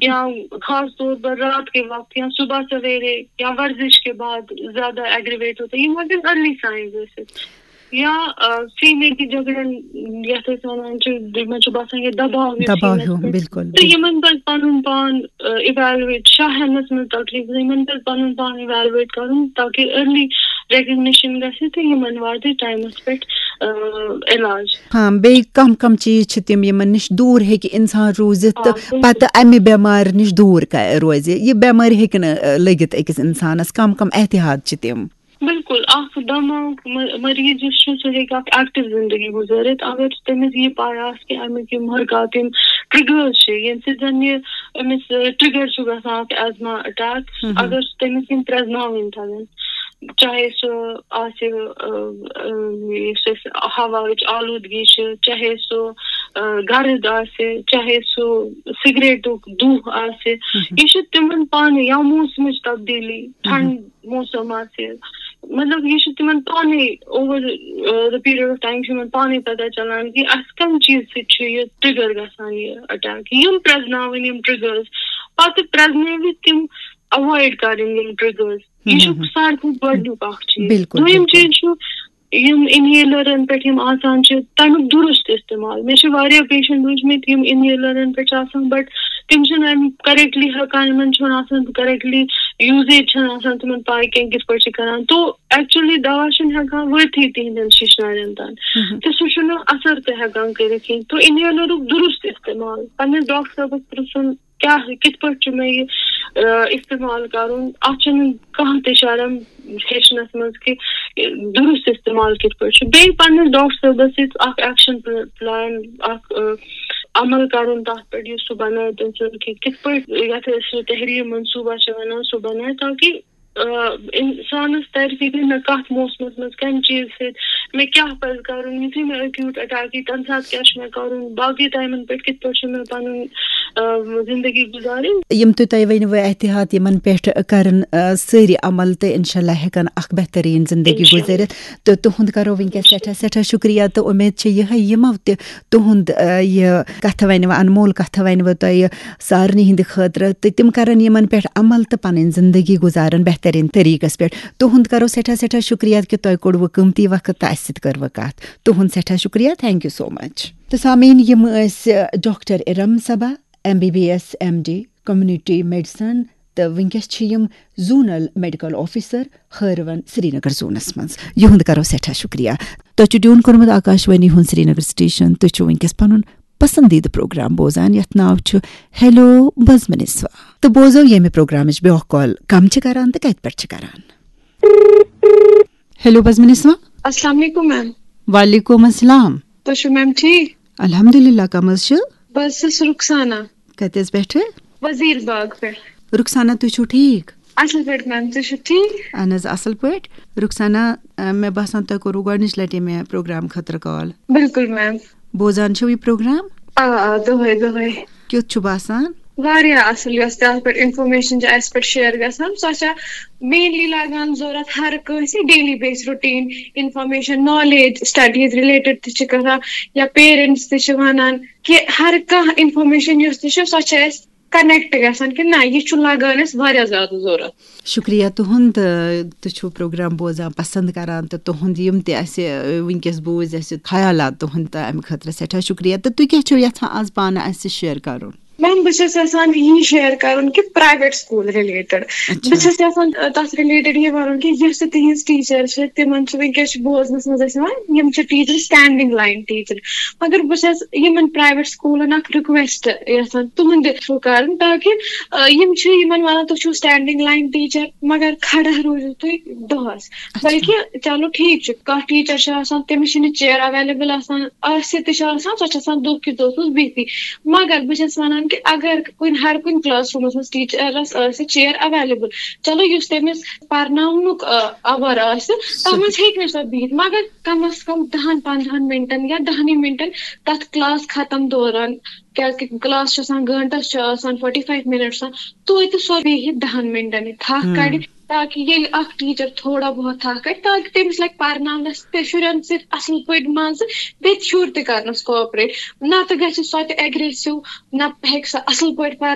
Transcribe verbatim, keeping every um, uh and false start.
یا خاص طور پر رات کے وقت یا صبح سویرے یا ورزش کے بعد زیادہ ایگریویٹ ہوتا ہے، یہ ممکن ارلی سائنز ٲسِتھ۔ یا سیٖنہٕ کہِ جگڑن، یتھ أسۍ ونان چھِ، یِمن چھُ باسان یہِ دباو ہیوٗ دباو سیٖنس ہیوٗ، پٮ۪ٹھ۔ بِلکُل، تہٕ بِلکُل۔ یِمن پزِ پنُن پان ایویلویٹ، شاہ ہٮ۪نس منٛز تکلیف گژھِ، یِمن پزِ پنُن پان ایویلویٹ کرُن، تاکہِ ارلی ریکگنیشن گژھِ تہٕ یِمن واتہِ ٹایمس پٮ۪ٹھ علاج۔ ہاں، بیٚیہِ کم کم چیٖز چھِ تِم، یِمن نِش دوٗر ہیٚکہِ اِنسان روٗزِتھ تہٕ آ، بِلکُل۔ پتہٕ امہِ بٮ۪مارِ نِش دوٗر ک-، روزِ؟ یہِ بٮ۪مٲرۍ ہیٚکہِ نہٕ، آ، لٔگِتھ أکِس اِنسانس۔ کم کم احتیاط چھِ تِم؟ بِلکُل، اکھ دماغ م-، مریض یُس چھُ، سُہ ہیٚکہِ اکھ ایکٹِو زندگی گُزٲرِتھ، اگر تٔمِس یہِ پاے آسہِ کہِ امیُک یِم حرکات، یِم ٹرگرز چھِ، ییٚمہِ سۭتۍ زن یہِ أمِس، آ، ٹرگر چھُ گژھان اکھ ایزما اٹیک، ہم ہم۔ اگر سُہ تٔمِس یِم پرٛزناوٕنۍ تَگن۔ چاہے سُہ آسہِ، آ، آ، یُس اَسہِ ہواہٕچ آلوٗدگی چھِ، چاہے سُہ، آ، گرد آسہِ، چاہے سُہ سگریٹُک دُہ آسہِ، ہم۔ یہِ چھِ تِمن پانہٕ یا موسمٕچ تبدیٖلی، ہم۔ ٹھنڈ موسم آسہِ، مطلب، یہِ چھِ تِمن پانَے اوور، آ، the period of time چھِ یِمن پانَے پتہ چلان کہِ اَسہِ کَمہِ چیٖزٕ سۭتۍ چھُ یہِ ٹرگر گژھان، یہِ اٹیک۔ یِم پرٛزناوٕنۍ یِم ٹرگرز، پتہٕ پرٛزنٲوِتھ تِم ایوایڈ کرٕنۍ یِم ٹرگرز۔ یہِ چھُ ہم، ہم۔ ساروی کھۄتہٕ گۄڈٕنیُک اکھ چیٖز۔ بِلکُل، دوٚیِم بِلکُل۔ چیٖز چھُ، یِم انہیلرن پٮ۪ٹھ یِم آسان چھِ، تَمیُک درست استعمال۔ مےٚ چھِ واریاہ پیشنٹ وٕچھمٕتۍ، یِم انہیلرن پٮ۪ٹھ چھِ آسان، but تِم چھِنہٕ اَمہِ کریکٹلی ہٮ۪کان، یِمن چھُنہٕ آسان کریکٹلی یوٗزیج، چھَنہٕ آسان تِمن پاے کینٛہہ کِتھ پٲٹھۍ چھِ کران۔ تو ایکچُلی دوا چھُنہٕ ہٮ۪کان وٲتتھٕے تِہنٛدٮ۪ن شِشنارٮ۪ن تام۔ ہم۔ تہٕ سُہ چھُنہٕ اثر تہِ ہٮ۪کان کٔرِتھ کِہیٖنۍ۔ تو انہیلرُک درست استعمال، پننِس ڈاکٹر صٲبس پرٛژھُن، کیٛاہ، کِتھ پٲٹھۍ چھُ مےٚ یہِ، آ، استعمال کرُن؟ اتھ چھُنہٕ کانٛہہ تہِ شرم ہیٚچھنس منٛز کہِ درست استعمال کِتھ پٲٹھۍ چھُ۔ بیٚیہِ پننِس ڈاکٹر صٲبس سۭتۍ اکھ ایکشن پل-، پلان، اکھ، آ، عمل کرُن تتھ پٮ۪ٹھ، یُس سُہ بنایہِ تٔمۍ سُنٛد کہِ کِتھ پٲٹھۍ، یتھ أسۍ سُہ تحریٖر منصوٗبہ چھِ ونان، سُہ بنایہِ، تاکہِ، آ، انسانس ترِ فکرِ مےٚ کتھ موسمس منٛز کمہِ چیٖزٕ سۭتۍ، مےٚ کیٛاہ پزِ کرُن، یُتھُے مےٚ ایکیوٗٹ اٹیک یی، تمہِ ساتہٕ کیٛاہ چھُ مےٚ کرُن، باقٕے ٹایمن پٮ۪ٹھ کِتھ پٲٹھۍ چھُ مےٚ پنُن، آ، زندگی گُزارٕنۍ۔ یِم تہِ تۄہہِ ؤنِو احتیاط، یِمن پٮ۪ٹھ کرن، آ، سٲری عمل تہٕ انشاءاللہ ہٮ۪کن اکھ بہتریٖن زندگی انشاءاللہ۔ گُزٲرِتھ۔ تہٕ تُہُنٛد کرو وٕنکیٚس سٮ۪ٹھاہ، سٮ۪ٹھاہ شُکریہ تہٕ اُمید چھِ یِہے یِمو تہِ تُہُنٛد، آ، یہِ کتھٕ ونِوٕ، انمول کتھٕ ونِوٕ تۄہہِ سارنٕے ہٕنٛدِ خٲطرٕ تہٕ تِم کرن یِمن پٮ۪ٹھ عمل تہٕ پنٕنۍ زندگی گُزارن بہتریٖن طریٖقس پٮ۪ٹھ۔ تُہُنٛد کرو سٮ۪ٹھاہ، سٮ۪ٹھاہ شُکریہ کہِ تۄہہِ کوٚڑوٕ قۭمتی وقت تہٕ اَسہِ سۭتۍ کٔروٕ کتھ۔ تُہُنٛد سٮ۪ٹھاہ شُکریہ، thank you so much۔ تہٕ سامعیٖن، یِم ٲسۍ doctor Iram Saba, M B B S, M D, community medicine, تہٕ وٕنکیٚس چھِ یِم زونل میڈیکل آفیسر ہٲروَن سرینگر زونس منٛز۔ یِہُنٛد کرو سٮ۪ٹھاہ شُکریہ۔ تۄہہِ چھُ ٹیوٗن کوٚرمُت آکاشوانی ہُنٛد سرینگر سٹیشن۔ تُہۍ چھِو وٕنکیٚس پنُن پسندیدٕ پروگرام بوزان، یتھ ناو چھُ ہیلو بزمِ نسواں۔ تہٕ بوزو ییٚمہِ پروگرامٕچ بیٛاکھ کال کم چھِ کران تہٕ کتہِ پٮ۪ٹھ چھِ کران۔ ہیلو بزمِ نسواں۔ السلام علیکم میم۔ وعلیکم السلام۔ تُہۍ چھِو میم ٹھیٖک؟ الحمدللہ، کم حظ چھِ؟ بہٕ حظ چھَس رُخسانا۔ کتہِ حظ پٮ۪ٹھٕ؟ وزیر باغ پٮ۪ٹھ۔ رُخسانا، تُہۍ چھِو ٹھیٖک؟ اصل پٲٹھۍ میم، تُہۍ چھِو ٹھیٖک؟ اہن حظ، اصل پٲٹھۍ۔ رُخسانا، آ، مےٚ باسان تۄہہِ کوٚروٕ گۄڈنِچ لٹہِ مےٚ پروگرام خٲطرٕ کال۔ بِلکُل میم۔ بوزان چھِو یہِ پروگرام؟ آ، آ، دۄہے، دۄہے۔ کیُتھ چھُ باسان؟ واریاہ اصل، یۄس تہِ اتھ پٮ۪ٹھ انفارمیشن چھِ اسہِ پٮ۪ٹھ شیئر گژھان، سۄ چھےٚ مینلی لگان ضروٗرت ہر کٲنٛسہِ daily base routine information, knowledge, studies related تہِ چھِ کران، یا پیرنٹس تہِ چھِ ونان کہِ ہر کانٛہہ انفارمیشن یۄس تہِ چھِ، سۄ چھِ اسہِ کنیکٹ گژھان کہِ نہ، یہِ چھُ لگان اسہِ واریاہ زیادٕ ضروٗرت۔ شُکریہ تُہُنٛد، تہٕ تُہۍ چھِو پروگرام بوزان، پسند کران، تہٕ تُہُنٛد یِم تہِ اَسہِ، آ، وٕنکیٚس بوٗزۍ اَسہِ خیالات تُہُنٛد، تہٕ اَمہِ خٲطرٕ سٮ۪ٹھاہ شُکریہ۔ تہٕ تُہۍ کیٛاہ چھِو یژھان آز پانہٕ اَسہِ شیئر کرُن؟ میم، بہٕ چھَس یژھان یی شیئر کرُن کہِ پرایویٹ سکوٗل رِلیٹڈ۔ اچھا۔ بہٕ چھَس یژھان، آ، تَتھ رِلیٹڈ یہِ وَنُن کہِ یۄس تہِ تِہِنٛز ٹیٖچر چھِ، تِمن چھُ وٕنکیٚس چھُ بوزنَس منٛز اَسہِ یِوان، یِم چھِ ٹیٖچر سٹینڈنگ لائن ٹیٖچر۔ مگر بہٕ چھَس یِمن پرایویٹ سکوٗلن اکھ رِکویسٹ یژھان تُہنٛدِ تھرو کرٕنۍ، تاکہِ، آ، یِم چھِ یِمن وَنان، "تُہۍ چھِو سٹینڈنگ لائن ٹیٖچر، مگر کھڑا روٗزِو تُہۍ دۄہس۔" اچھا۔ بلکہِ چلو ٹھیٖک چھُ، کانٛہہ ٹیٖچر چھُ آسان، تٔمِس چھِنہٕ چیئر اویلیبل آسان، آسہِ تہِ چھُ آسان، سۄ چھِ آسان دۄہ کِس دۄہس بیٚہتھٕے۔ مگر بہٕ چھَس وَنان کہِ اگر کُنہِ، ہر کُنہِ کلاس روٗمَس منٛز ٹیٖچرَس آسہِ چیئر اویلیبل، چلو یُس تٔمِس پَرناونُک، آ، آوَر آسہِ، تَتھ منٛز ہیٚکہِ نہٕ سۄ بِہِتھ، مگر کم از کم دَہَن پنٛدہَن مِنٹَن یا دَہنٕے مِنٹَن تَتھ کلاس ختم دوران، کیٛازِکہِ کلاس چھُ آسان گٲنٛٹَس، چھُ آسان فورٹی فایو مِنٹٕس آسان، توتہِ سۄ بیٚہہِ دَہَن مِنٹَن، یہِ تھَکھ ہُم۔ کَڑِ۔ تاکہِ ییٚلہِ اکھ ٹیٖچر تھوڑا بہت تھکھ کرِ، تاکہِ تٔمِس لگہِ پرناونس تہِ شُرٮ۪ن سۭتۍ اصل پٲٹھۍ مزٕ، بیٚیہِ چھُ شُر تہِ کرنس کوآپریٹ۔ نہ تہٕ گژھِ سۄ تہِ اگریسو، نہ ہیٚکہِ سۄ اصل پٲٹھۍ پرنٲوِتھ۔